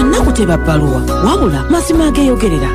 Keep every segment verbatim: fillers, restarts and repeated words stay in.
Kyannaku teba bbaluwa, wabula mazima ageeyogerera.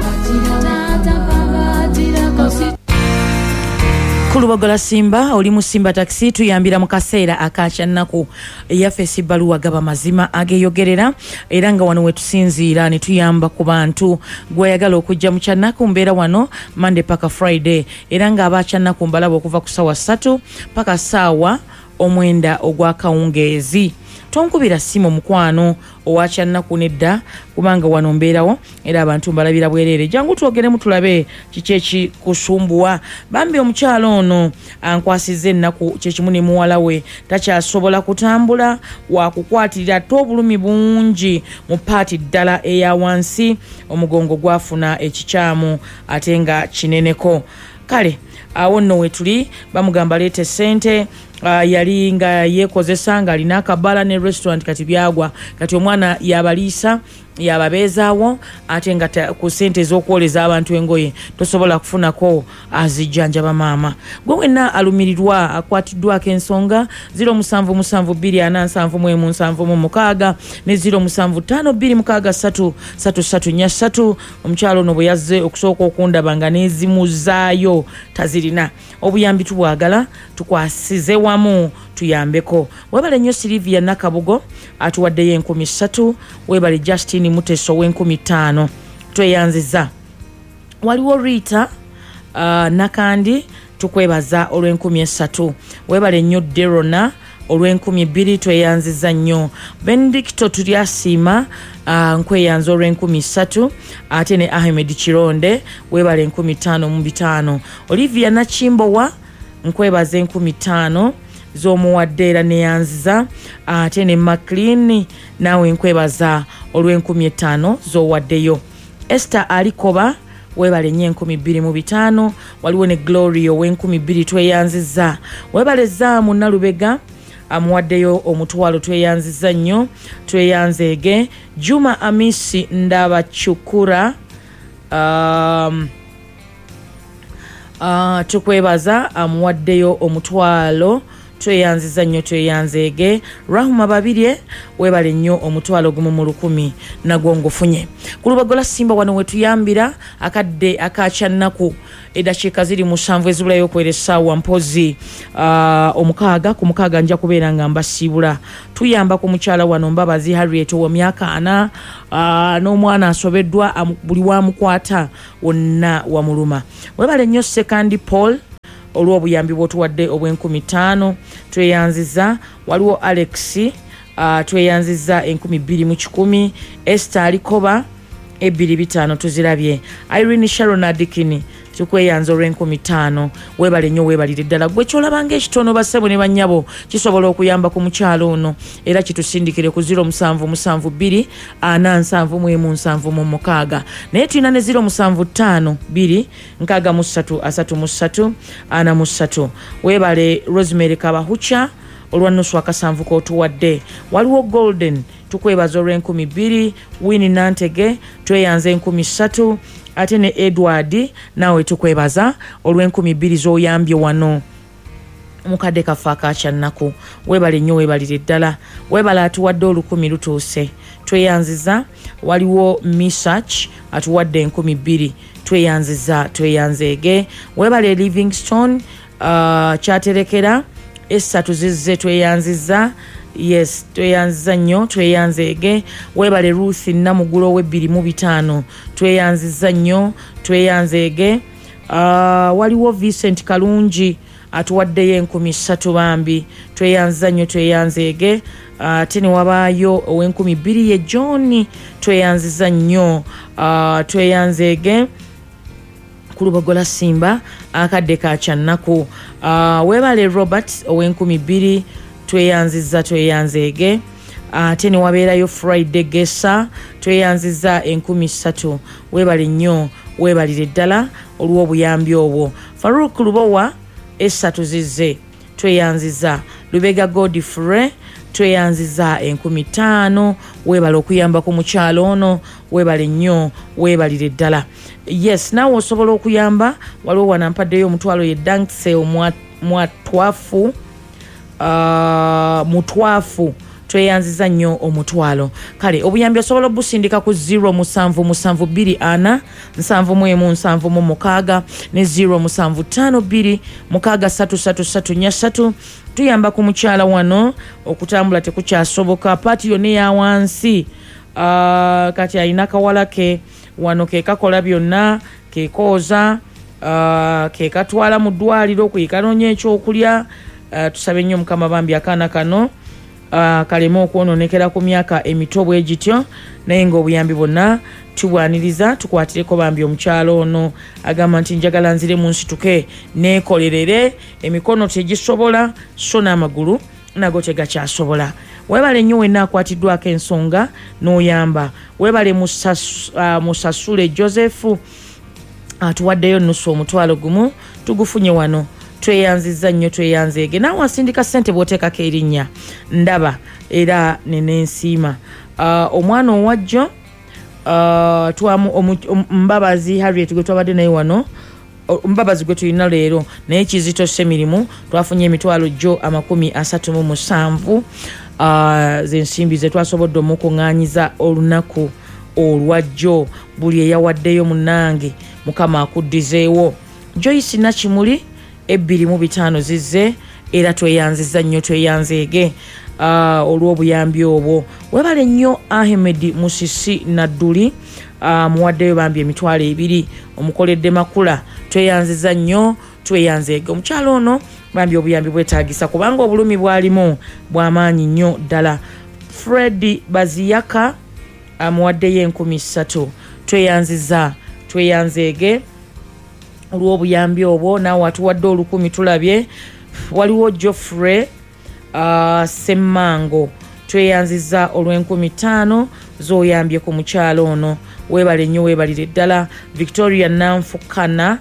Kulubogola Simba, oli mu Simba Taxi, tuyambira mu kaseera akakyannaku. Eyaffe si bbaluwa, gaba mazima ageeyogerera, era nga wano wetusinziira ne tuyamba ku bantu. Gweyagala okujja mu kyannaku, mbeera wano Monday paka Friday, era nga abakyannaku mbalaba okuva ku ssaawa ssatu paka ssaawa omwenda ogw'akawungeezi. Tonkubira simu mukwano owakyannaku nedda, kubanga wano mbeerawo era abantu mbalabira bwereere. Jangu twogeremu tulabe kiki ekikusumbuwa. Bambi omukyalo ono ankwasizza ennaku, kyekimu ne muwala we takyasobola kutambula, wakukwatirira ate obulumi bungi mu paati ddala eya wansi, omugongo gwafuna ekikyamu ate nga kineneko. Kale awo nno wetuli, bamugamba leeta essente. Uh, yali nga yeekozesa ng'alina akabala ne restaurant, kati byagwa. Kati omwana yabaliisa, yababeezaawo, ate nga ku ssente ez'okwoleza abantu engoye tosobola kufunako azijjanjaba. Maama gwe wenna alumirirwa akwatiddwako ensonga, ziro musanvu musanvu bbiri ana nsanvu mu emu nsanvu mu mukaaga ne ziro musanvu ttaano bbiri mukaaga ssatu ssatu ssatu nnya ssatu. Omukyalo ono bwe yazze okusooka okundaba nga n'ezimuzaayo tazirina. Obuyambi tubwagala, tukwasize wamu tuyambeko. Webale nnyo Silivia Nakabugo atuwaddeyo enkumi ssatu. Webale Justin Muteso w'enkumi ttaano, tweyanziza. Waliwo Rita uh, Nakandi, tukwebaza olw'enkumi essatu. Webale nnyo Derona olw'enkumi bbiri, tweyanziza nnyo. Benedicto Tulyasiima, uh, nkweyanza olw'enkumi ssatu. Ate ne Ahmed Kironde, webale enkumi ttaano mu bitaano. Olivia Nakimbowa, nkwebaza enkumi ttaano z'omuwadde era neyanziza. Ate ne Maclean, naawe nkwebaza olw'enkumi ttaano z'owaddeyo. Esther Alikoba, webale nnyo enkumi bbiri mu bitaano. Waliwo ne Gloria ow'enkumi bbiri, tweyanziza. Webale Zaamu Nalubega amuwaddeyo omutwalo, tweyanziza nnyo, tweyanzeege. Juma Amisi Ndabacukura, um, uh, tukwebaza, amuwaddeyo omutwalo, tweyanziza nnyo, tweyanzeege. Rahuma Babirye, webale nnyo omutwalo gumu mu lukumi nagwo ngufunye. Ku Lubagola Simba wano wetuyambira akadde akakyannaku, eddakiika ziri musanvu ezibulayo okwera essaawa mpozi uh, omukaaga. Ku mukaaga nja kubeera nga mbasiibula. Tuyamba ku mukyala wano Mbabazi Harriet ow'emyaka ana, uh, n'omwana asobeddwa, buli wamukwata wonna wamuluma. Webale nnyo Sekandi Paul olw'obuyambi bw'otuwadde obw'enkumi ttaano, tweyanziza. Waliwo Alex, uh, tweyanziza enkumi bbiri mu kikumi. Esther Alikoba ebbiri bitaano tuzirabye. Irene Sharon Adikini, tukweyanza olw'enkumi ttaano. Weebale nnyo, weebalire ddala. Gwe kyolabanga ekitono, bassebo ne bannyabo, kisobola okuyamba ku mukyalo ono, era kitusindikire ku ziro musanvu musanvu bbiri ana nsanvu mu emu nsanvu mu mukaaga. Naye tulina ne ziro musanvu ttaano bbiri nkaaga mu ssatu asatu mu ssatu ana mu ssatu. Weebale Rosemary Kabahucha olwa nusu akasanvu k'otuwadde. Waliwo Golden, tukwebaza olw'enkumi bbiri. Winnie Nantege, tweyanza enkumi ssatu. Ate ne Edward, naawe tukwebaza olw'enkumi bbiri z'oyambye wano mukadde kaffe akakyannaku. Weebale nnyo, weebalire ddala. Weebale atuwadde olukumi lutuuse, tweyanziza. Waliwo Misach atuwadde enkumi bbiri, tweyanziza, tweyanzeege. Weebale Livingstone uh, kyaterekera essatu zizze, tweyanziza. Yes, tweyanziza nnyo, tweyanzeege. Weebale Ruth Namugulo ow'ebbiri mu bitaano, tweyanziza nnyo, tweyanzeege. Uh, waliwo Vincent Kalungi atuwaddeyo enkumi ssatu bambi, tweyanziza nnyo, tweyanzeege. Ate uh, ne wabaayo ow'enkumi bbiri ye John, tweyanziza nnyo, uh, tweyanzeege. Ku Lubogola Simba akadde ka kyannaku. Uh, weebale Robert ow'enkumi bbiri, tweyanziza, tweyanzeege. Ate ne wabeerayo Friday Gesa, tweyanziza enkumi ssatu. Weebale nnyo, weebalire ddala olw'obuyambi obwo. Farouk Lubowa essatu zizze, tweyanziza. Lubega Godfrey, tweyanziza enkumi ttaano. Weebale okuyamba ku mukyalo ono, weebale nnyo, weebalire ddala. Yes, naawe osobola okuyamba. Waliwo wano ampaddeyo omutwalo ye Dankse omwatwafu, uh, mutwafu, Tweyanziza nnyo omutwalo. Kale obuyambi osobola obusindika ku zero musanvu musanvu bbiri ana nsanvu mu emu nsanvu mu mukaaga ne zero musanvu ttaano bbiri mukaaga ssatu ssatu ssatu nnya ssatu. Tuyamba ku mukyala wano, okutambula tekukyasoboka, paati yonna eya wansi. Uh, kati alina kawala ke wano ke kakola byonna, ke kooza, uh, ke katwala mu ddwaliro, ke kanoonya ekyokulya. Uh, tusabe nnyo Mukama bambi akaana kano uh, kaleme okwonoonekera ku myaka emito bwe gityo, naye ng'obuyambi bwonna tubwaniriza. Tukwatireko bambi omukyalo ono agamba nti njagala nzire mu nsituke neekolerere, emikono tegisobola so n'amagulu nago tegakyasobola. Weebale nnyo wenna akwatiddwako ensonga n'oyamba. Weebale musas, uh, Musasule Joseph atuwaddeyo nusu omutwalo gumu, tugufunye wano. Tweyanzizza nnyo, tweyanzeege. Naawe asindika ssente bw'oteekako erinnya ndaba era nenensiima. Uh, omwana owajjo uh, twamu Mbabazi Harriet gwe twabadde naye wano, Mbabazi gwe tulina leero naye Kizito Ssemirimu, twafunye emitwalo gyo amakumi asatu mu musanvu uh, z'ensimbi ze twasobodde omukuŋŋaanyiza olunaku olwajjo. Buli eyawaddeyo munnange Mukama akuddizeewo. Joyce Nakimuli ebbiri mu bitaano zizze, era tweyanziza nnyo, tweyanzeege uh, olw'obuyambi obwo. Webale nnyo Ahmed Musisi Nadduli, uh, muwaddeyo bambi emitwalo ebiri, omukoledde makula. Tweyanziza nnyo, tweyanzeege. Omukyalo ono bambi obuyambi bwetaagisa kubanga obulumi bwalimu bw'amaanyi nnyo ddala. Fred Baziyaka amuwaddeyo enkumi ssatu. Tweyanziza, tweyanzeege olw'obuyambi obwo. Naawe atuwadde olukumi tulabye. Waliwo Geoffrey uh, Semmango, tweyanziza olw'enkumi ttaano z'oyambye ku mukyalo ono. Weebale nnyo, weebalire ddala. Victoria Nanfukana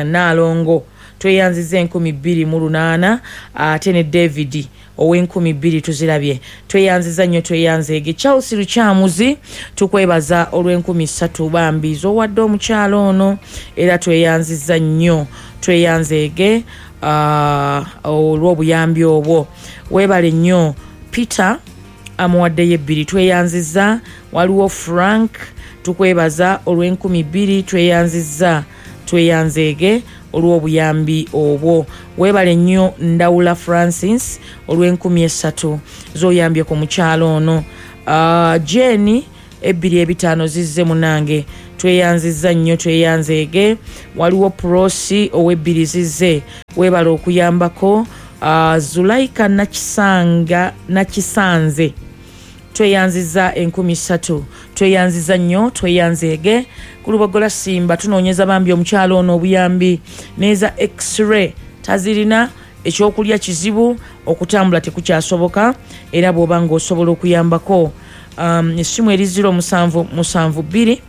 Naalongo, tweyanziza enkumi bbiri mu lunaana, ate ne David ow'enkumi bbiri tuzirabye. Tweyanziza nnyo, tweyanzeege. Charles Lukyamuzi, tukwebaza olw'enkumi ssatu bambi z'owadde omukyalo ono, era tweyanziza nnyo, tweyanzeege uh, olw'obuyambi obwo. Weebale nnyo. Peter amuwaddeyo ebbiri, tweyanziza. Waliwo Frank, tukwebaza olw'enkumi bbiri, tweyanziza, tweyanzeege olw'obuyambi obwo. Weebale nnyo Ndawula Francis olw'enkumi esatu z'oyambye ku mukyalo ono. Uh, Jenny ebbiri ebitaano zizze munange, tweyanziza nnyo, tweyanzeege. Waliwo Prosi ow'ebbiri zizze, weebale okuyambako. Uh, Zulaika Nakisanga Nakisanze, tweyanziza enkumi ssatu, tweyanziza nnyo, tweyanzeege. Ku Lubogola Simba tunoonyeza bambi omukyalo ono obuyambi n'eza x-ray tazirina, ekyokulya kizibu, okutambula tekukyasoboka, era bw'oba ng'osobola okuyambako. Um, essimu eri zero musanvu musanvu bbiri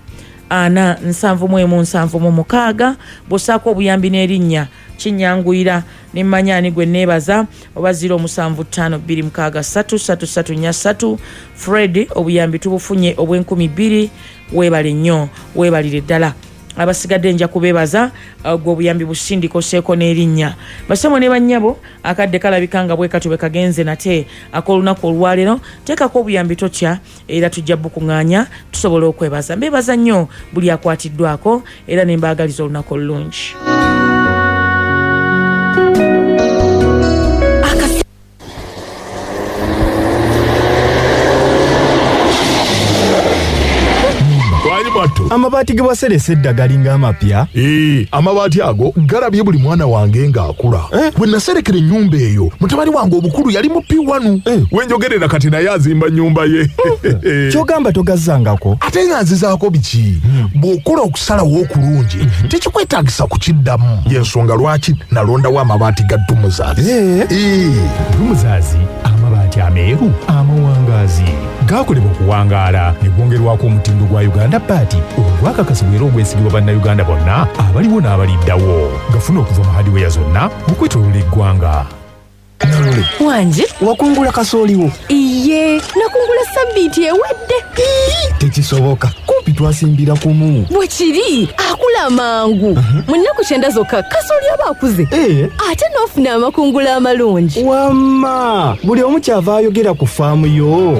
ana nsanvu mu emu nsanvu mu mukaaga. Bw'ossaako obuyambi n'erinnya kinyanguyira ne mmanya ani gwe neebaza, oba zero musanvu ttaano bbiri mukaaga ssatu ssatu ssatu nnya ssatu. Fred obuyambi tubufunye obw'enkumi bbiri, weebale nnyo, weebalire ddala. Abasigadde nja kubeebaza, gwe obuyambi busindika osseeko n'erinnya. Basemo ne bannyabo, akadde kalabika nga bwe katyo bwe kagenze nate ak'olunaku olwaleero. Teekako obuyambi totya, era tujja bukuŋŋaanya tusobole okwebaza. Mbeebaza nnyo buli akwatiddwako, era ne mbaagaliza olunaku olulungi. Amabaati ge waseresa edda galinga amapya? Ee, amabaati ago galabye buli mwana wange ng'akula. Eh? Bwe naserekera ennyumba eyo, mutabani wange omukulu yali mu P one. Eh. Wenjogerera kati naye azimba nnyumba ye. Ky'ogamba togazzangako? Ate nga nzizaako biki? Hmm. Bw'okola okusalawo okulungi, mm-hmm. tekikwetaagisa kukiddamu. Y'ensonga lwaki nalondawo amabaati ga Dumuzaazi. Eh. Ee. Dumuzaazi, amabaati ameeru, amawangaazi. Gakolebwa okuwangaala ne gwongerwako omutindo gwa Uganda Baati ogwakakasibwa era ogwesigibwa bannayuganda bonna abaliwo n'abaliddawo. Gafuna okuva mu hardware zonna okwetooloola eggwanga. Nalule Wanje wakungula kasooliwo? Iye, Nakungula sabbiiti ewedde. Tekisoboka, kumpi twasimbira kumu. Bwe kiri, akula mangu. Mu nnaku kyenda zokka kasooli aba akuze. Ate n'ofuna amakungula amalungi. Wamma, buli omu kyava ayogera ku faamu yo.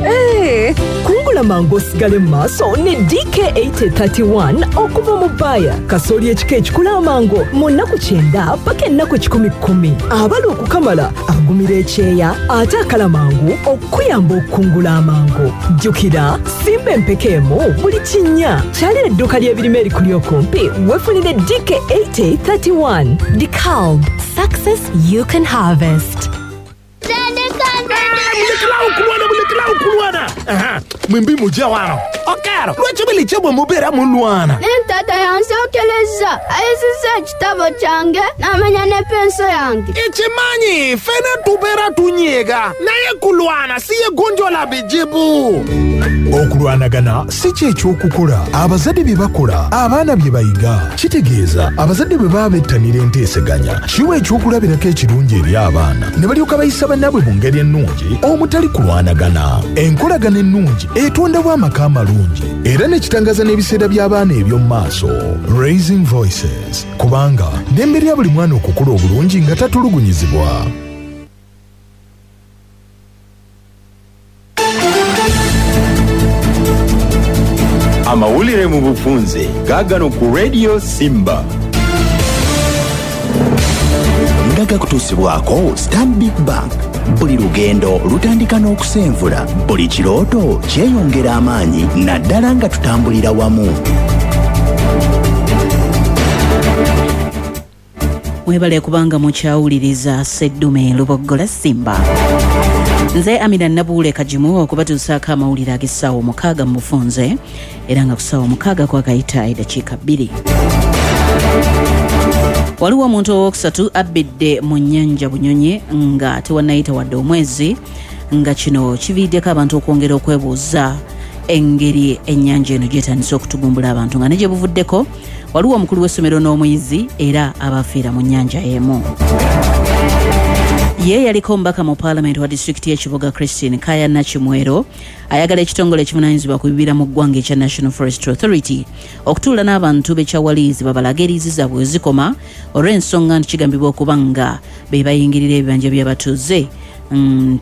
Kungula mangu osigale mu maaso ne D K eight thirty-one okuva mu Bayer. Kasooli ekika ekikula amangu mu nnaku kyenda paka ennaku kikumi kkumi. Abala okukamala agumira ekyeya ate akala mangu okuyamba okukungula amangu. Jjukira, simba empeke emu buli kinnya. Kyalira edduuka ly'ebirime erikuli okumpi weefunire D K eight thirty-one. DeKalb, success you can harvest. Mwimbi mujja wano. Okero, lwaki buli mubeera mulwana? Tata yansookerezza, ayisizza ekitabo kyange n'amenya ne penso yange. Ekimanyi, ffena tubeera tunyiga, naye kulwana si ye gonjoola bizibu. Okulwanagana si kye ekyokukola. Abazadde bye bakola, abaana bye bayiga. Kitegeeza abazadde bwe baba bettanira enteeseganya, kiwa ekyokulabirako ekirungi eri abaana ne balyoka bayisa bannaabwe mu ngeri ennungi omutali kulwanagana. Enkolagana ennungi etondawo amaka amalungi era ne kitangaza n'ebiseera by'abaana eby'omu maaso. Raising Voices, kubanga ddembe lya buli mwana okukula obulungi nga tatulugunyizibwa. Amawulire mu bufunze gaagano ku Radio Simba. Nga gakutuusibwako Stanbic Bank. Buli lugendo lutandika n'okusenvula, buli kirooto kyeyongera amaanyi naddala nga tutambulira wamu. Mwebale kubanga mukyawuliriza Sseddume Luboggola Simba. Nze Amina Nabuule Kagimu okubatuusaako amawulire ag'essaawa omukaaga mu bufunze era nga ku ssaawa omukaaga kwakayita eddakiika bbiri. Waliwo omuntu owookusatu abbidde mu nnyanja Bunyonyi nga tewannayita wadde omwezi, nga kino kiviiriddeko abantu okwongera okwebuuza engeri ennyanja eno gy'etandise okutugumbula abantu, nga ne gye buvuddeko waliwo omukulu w'essomero n'omuyizi era abafiira mu nnyanja emu. Ye yaliko omubaka mu paalamenti wa disitulikiti y'ekibuga Christine Kaya Nakimwero ayagala ekitongole ekivunaanyizibwa ku bibira mu ggwanga ekya National Forestry Authority okutuula n'abantu b'ekyawaliizi babalage eriizi zaabwe zikoma olw'ensonga nti kigambibwa okuba nga be bayingirira ebibanja by'abatuuze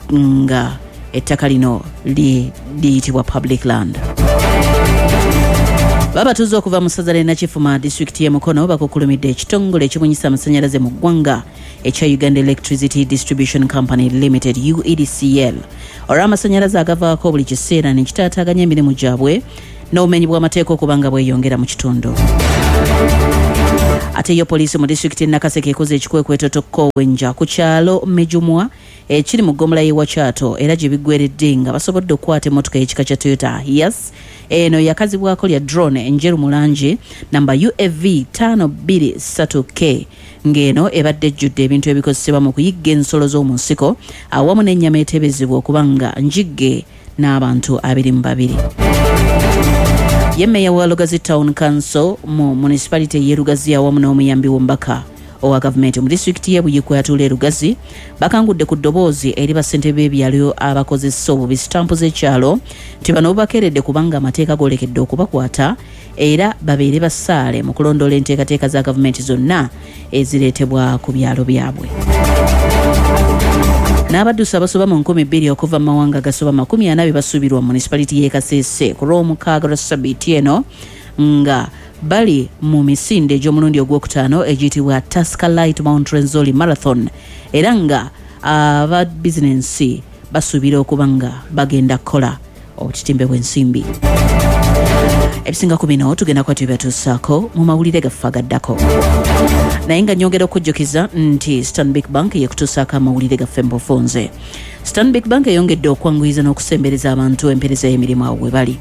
nga ettaka lino liyitibwa public land. Babatuuze okuva mu ssaza ly'e Nakifuma disitulikiti y'e Mukono bakukulumidde ekitongole ekibunyisa amasannyalaze mu ggwanga ekya Uganda Electricity Distribution Company Limited U E D C L olw'amasannyalaze agavaako buli kiseera ne kitaataaganya emirimu gyabwe n'obumenyi bw'amateeka okuba nga bweyongera mu kitundu. Ate yo poliisi mu disitulikiti y'e Nakaseke ekoze ekikwekweto tokkowenja ku kyalo Mejumwa ekiri mu ggombolola y'e Wakyato era gye biggweredde nga basobodde okukwata emmotoka y'ekika kya Toyota Hiace. Eno yakazibwako lya drone enjeru mu langi namba U A V ttaano bbiri ssatu K, ng'eno ebadde ejjudde ebintu ebikozesebwa mu kuyigga ensolo z'omu nsiko awamu n'ennyama eteebezebwa okuba nga njigge n'abantu abiri mu babiri. Ye mmeeya wa Lugazi Town Council mu municipality y'e Lugazi awamu n'omuyambi w'omubaka owa gavumenti mu disitulikiti y'e Buikwe atuula e Lugazi bakangudde ku ddoboozi eri bassentebe b'ebyalo abakozesa obubi sitampu z'ekyalo nti bano bubakeeredde kubanga amateeka goolekedde okubakwata era babeere basaale mu kulondoola enteekateeka za gavumenti zonna ezireetebwa ku byalo byabwe. N'abaddusi abasoba mu nkumi bbiri okuva mu mawanga agasoba makumi ana be basuubirwa mu municipality y'e Kasese ku lw'omukaaga lwa ssabbiiti eno nga bali mu misinde egy'omulundi ogwokutaano egiyitibwa Tusker Light Mount Rwenzori Marathon era nga aba bizinensi basuubira okuba nga bagenda kukola obutitimbe bw'ensimbi. Ebisinga ku bino tugenda kuba tubibatuusaako mu mawulire gaffe agaddako. Naye nga nnyongera okujjukiza nti Stanbic Bank yekutuusaako amawulire gaffe mu bufunze. Stanbic Bank eyongedde okwanguyiza n'okusembereza abantu empeereza y'emirimu awo we bali.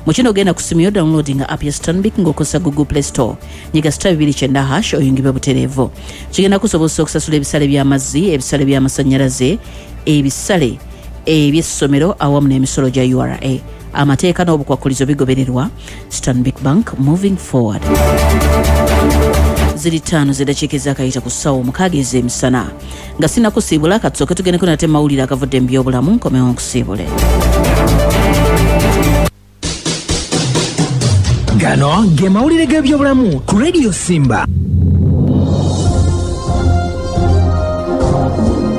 Mu kino ogenda ku simu yo downloadinga app ya Stanbic ng'okozesa Google Play Store. Nyiga star bibiri kyenda hash oyingibwe butereevu. Kigenda kusobozesa okusasula ebisale by'amazzi, ebisale by'amasannyalaze, ebisale eby'essomero awamu n'emisolo gya U R A. Amateeka n'obukwakulizo bigobererwa. Stanbic Bank, moving forward. Ziri ttaano z'eddakiika ezaakayita ku ssaawa omukaaga ez'emisana. Nga sinnakusiibula, katusooke tugendeko nate mawulire agavudde mu byobulamu, nkomewo nkusiibule. Gano ge mawulire g'ebyobulamu ku Radio Simba.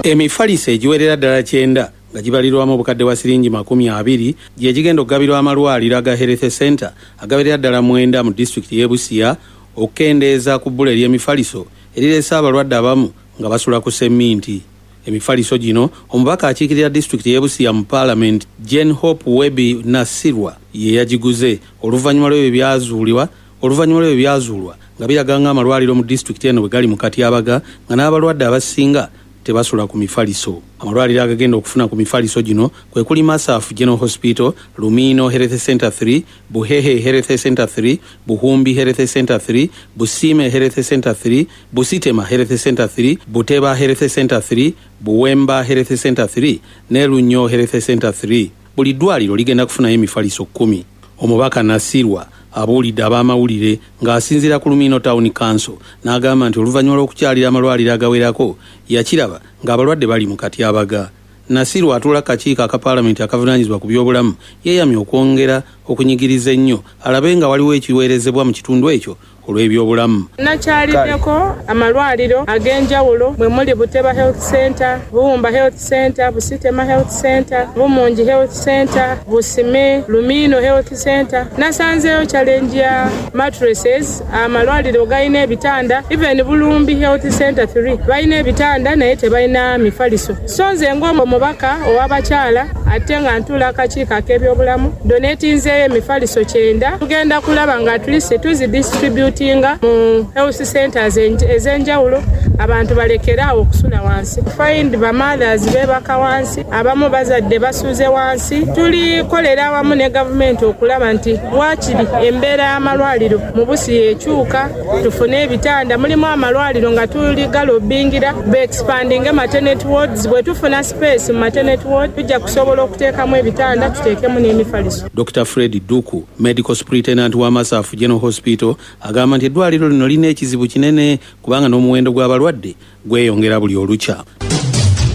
Emifaliso egiwerera ddala kyenda nga gibalirwamu obukadde bwa siringi makumi abiri gye gigenda okugabirwa amalwaliro aga Health Center agawerera ddala mwenda mu disitulikiti y'e Busia okukendeeza ku bbula ery'emifaliso erireese abalwadde abamu nga basula ku semminti. Emifaliso gino omubaka akiikirira disitulikiti y'e Busia mu paalamenti Jane Hope Webi Nasirwa ye yagiguze oluvannyuma lw'ebyo byazuulibwa oluvannyuma lw'ebyo byazuulwa nga biraga ng'amalwaliro mu disitulikiti eno bwe gali mu katyabaga nga n'abalwadde abasinga tebasula ku mifaliso. Amalwaliro agagenda okufuna ku mifaliso gino kwe kuli Masafu General Hospital, Lumino Health Center three, Buhehe Health Center three, Buhumbi Health Center three, Busime Health Center three, Busitema Health Center three, Buteba Health Center three, Buwemba Health Center three ne Lunyo Health Center three. Buli ddwaliro ligenda kufunayo emifaliso kkumi. Omubaka Nasirwa abuulidde ab'amawulire ng'asinziira ku Lumino Town Council n'agamba nti oluvannyuma lw'okukyalira amalwaliro agawerako yakiraba ng'abalwadde bali mu katyabaga. Nasirwa atuula kakiiko aka paalamenti akavunaanyizibwa ku byobulamu yeeyamye okwongera okunyigiriza ennyo alabe nga waliwo ekiweerezebwa mu kitundu ekyo olw'ebyobulamu. Nakyaliddeko amalwaliro ag'enjawulo mwe muli Buteba Health Center, Buwumba Health Center, Busitema Health Center, Bumungi Health Center, Busime, Lumino Health Center. Nasanzeeyo challenge ya mattresses, amalwaliro galina ebitanda, even Bulumbi Health Center three balina ebitanda naye tebalina mifaliso. So nze ng'omubaka ow'abakyala ate nga ntuula akakiiko ak'ebyobulamu donatinzeeyo emifaliso kyenda. Tugenda kulaba nga at least tuzidistribute mu health centers ez'enjawulo abantu balekere awo okusula wansi. Find ba mothers beebaka wansi, abamu bazadde basuze wansi. Tulikolera awamu ne gavumenti okulaba nti waakiri embeera y'amalwaliro mu Busia ekyuka, tufune ebitanda. Mulimu amalwaliro nga tuli galobingira beexpandinge maternity wards. Bwe tufuna space mu maternity ward tujja kusobola okuteekamu ebitanda tuteekemu n'emifaliso. Doctor Fred Duku, medical superintendent wa Masafu General Hospital, agamba nti eddwaliro lino lirina ekizibu kinene kubanga n'omuwendo gw'abalwadde gweyongera buli olukya.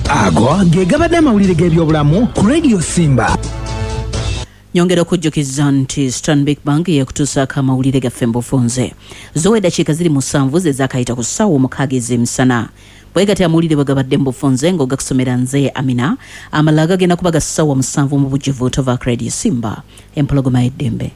Ago ge gabadde amawulire g'ebyobulamu ku Radio Simba. Nyongera okujjukiza nti Stanbic Bank yekutuusaako amawulire gaffe mu bufunze. Zo eddakiika ziri musanvu ze zaakayita ku ssaawa omukaaga ez'emisana. Bwe gatya amawulire bwe gabadde mu bufunze ng'ogakusomera nze Amina. Amalala gagenda kuba ga ssaawa musanvu mu bujjuvu tova ku Radio Simba. Empologoma y'eddembe.